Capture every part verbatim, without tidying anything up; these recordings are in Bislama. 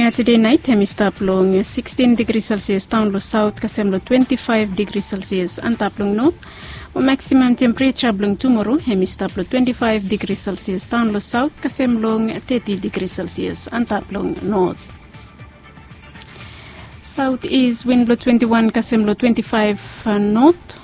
Satade naet hem i stap long sixteen degri selsias daon long saot kasem long twenty five degri selsias antap long not. Mo maksimam tempereja blong tumoro hem i stap long twenty five degri selsias daon long saot kasem long thirty degri selsias antap long not. Saot is win blong twenty one kasem long twenty five not.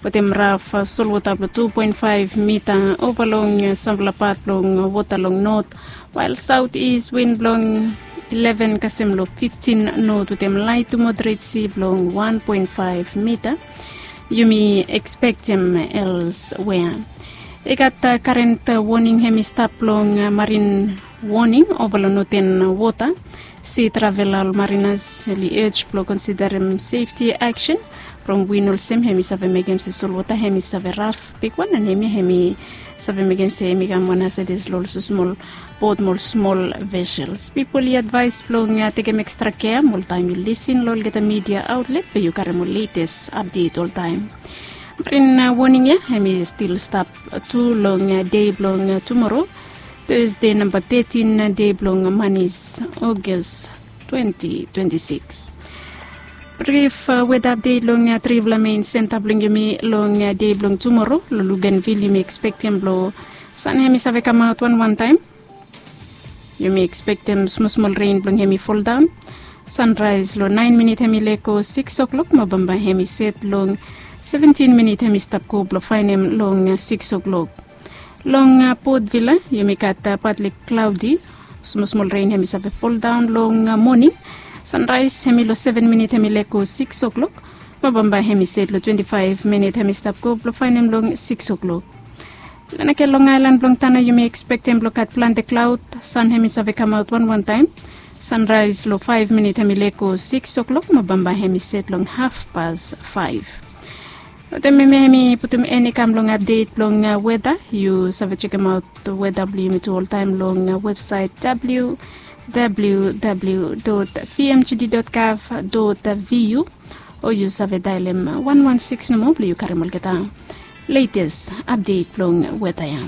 Wetem raf solwota blong two point five mita ova long sampela pat blong wota long not, wael saot is win blong eleven kasem long fifteen not wetem laet tu moderet si blong one point five mita. Yumi ekspektem elswea. I gat karen woning hem i stap long marin woning ova long noten wota. Si travela ol marinas oli ej blong konsiderem sefti aksen from win olsem hem i save mekem se solwota hem i save raf bigwan, an hemia hem i save mekem se hem i kam wan asedis long ol smol bot mo ol smol vesels. Pipol i advaes blong tekem ekstra kea mo oltaem yu lisin long olgeta midia aotlet blong yu karem ol letes apdet oltaem. Marin woning ya hem i stil stap tu long dei blong tumoro, Thursday namba thirteen dei blong manis, August twenty twenty six. Brif weda apdet long trifala mein senta blong yumi long dei blong tumoro. Long Luganvil yumi ekspektem blong san hem i save kamaot wanwan taem. Yumi ekspektem smosmol ren blong hem i foldaon. Sanraes long naen minit hem i lego sikis oklok mo bambae hem i set long seventin minit hem i stap go blong faenem long sikis oklok. Long Port Vila yumi gat patli klaodi. Smosmol ren hem i save foldaon long moning. Sanraes hem i long seven minit hem i lego sikis oklok mo bambae hem i set long twenti faev minit hem i stap go blong faenem long sikis oklok. Lanake long aelan blong tana yumi ekspektem blong gat plante klaod. San hem i save kamaot wanwan taem. Sanraes long faev minit hem i lego sikis oklok mo bambae hem i set long hafpas faev. Wetem hemia hem i putum en i kam long apdet blong weda. Yu save jekemaot weda blong yumi tu oltaem long websaet www dot vmgd dot gov dot vu, o yu save daelem wan wan sikis nomo blong yu karem olgeta letes apdet blong weda ya.